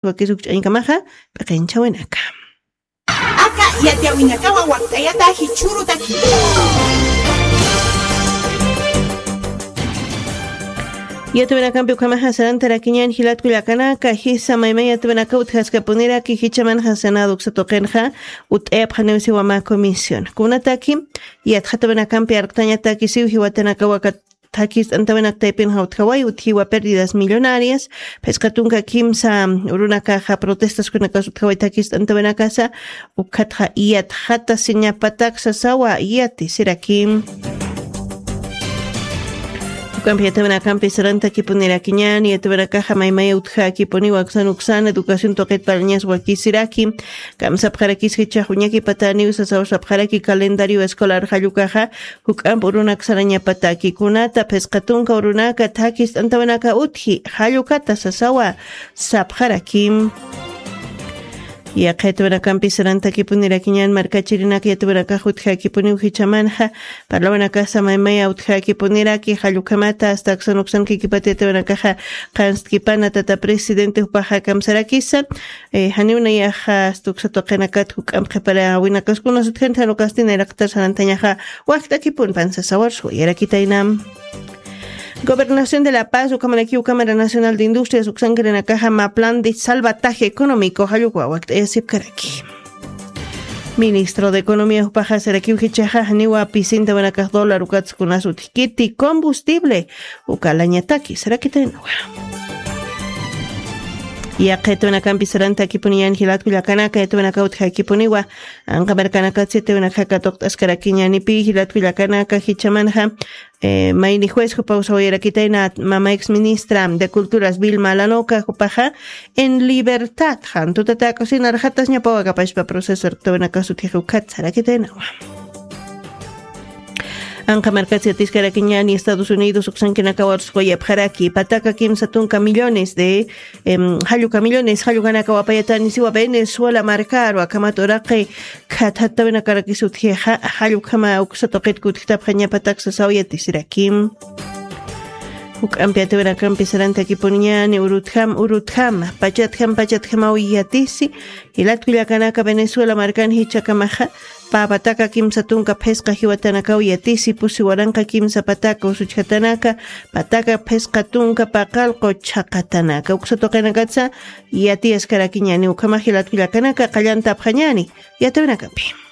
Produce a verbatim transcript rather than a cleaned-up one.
wakis ukch'añkamaxa p'iqinchawinaka. Aka yatiyawinakawa wakt'ayata jichhurutaki. Yatawinakampi ukhamaxa sarantarakiñan jilatku llakanaka, jisa maymay yatawinaka utjaskapuniraki jichamanxa Senado uksa tuqinxa ut'ayapxaniw siwama comisión. Kunataki yatxatawinakampi arqtañataki siw jiwatanakawa kat-, thakist'antawinak taypinxa utjaway utjiwa pérdidas millonarias, phisqa tunka kimsa urunakaxa protestaskunakas utjaway thakist'antawinakasa, ukhatxa yatxatasiñapatak sasawa yati siraki. Ukampi yatawinakampi sarantakipunirakiñan, yatawinakaxa maymaya utjakipuniwa uksan uksan educación tuqit palañas wakisiraki, kamsapxarakis jichhax uñakipataniw sasaw sapxaraki calendario escolar jallukaxa, juk'amp urunak sarañapataki kunata phisqa tunka urunaka thakist'antawinaka utji jallukata sasawa sapxarakim. Yaqha yatawinakampi sarantakipunirakiñan markachirinaka yatawinakax utjakipuniw jichamanxa, parlawinakasa maymaya utjakipuniraki jallukhamata asta uksan uksan kikipata yatawinakaxa qanst'kipana tata presidente jupaxa kamsarakisa, eh, janiw nayaxa asta uksa tuqinakat juk'amp qhiparawinakaskunas utjanti jan ukasti nayraqatar sarantañaxa wakt'akipun pansasawarsuwa yarakitayna. Gobernación de La Paz, ukhamarakiw Cámara Nacional de Industrias uksankirinakaxa mä plan de salvataje económico jallukwa wakt'ayasipkaraki. Ministro de Economía jupaxa sarakiw jichhaxa janiwa pisintawinakax dólar ukatsa kunas utjkiti combustible ukalañataki sarakitaynawa. Yaqha yatawinakampi sarantakipuniñan jilatku llakanaka, yatawinaka utjakipuniwa anqa markanakatsa yatawinakaxa katuqt'askarakiñanipi jilatku llakanaka jichamanxa, eh, mayni juez jupa usawayarakitayna mama ex ministra de Culturas Vilma Lanoca jupaxa en libertad, jan tutatäk'usin arxatasñapawa kapachpa proceso arqtawinakas utjix ukhat sarakitaynawa. Anqa markatsa yatiskarakiñani Estados Unidos uksankinakawa arsuquyapxaraki pataka kimsa tunka millones de, em, jalluka millones jallukanakawa apayatani siwa Venezuela markaru akhamat uraqi khathattawinakarakis utjixa jallukhama uksa tuqit kutjtapxañapatak sasaw yatisirakim. Juk'ampi yatawinakampi sarantakipuniñani urutjam urutjam pachatjam pachatjamaw yatisi jilatku llakanaka Venezuela markan jichhakamaxa, pä pataka kimsa tunka phisqa jiwatanakaw yatisi pusi waranqa kimsa pataka usuchjatanaka, pataka phisqa tunka paqallqu chhaqatanaka uksa tuqinakatsa yatiyaskarakiñani ukhamax jilatku llakanaka qallantapxañani yatawinakapi.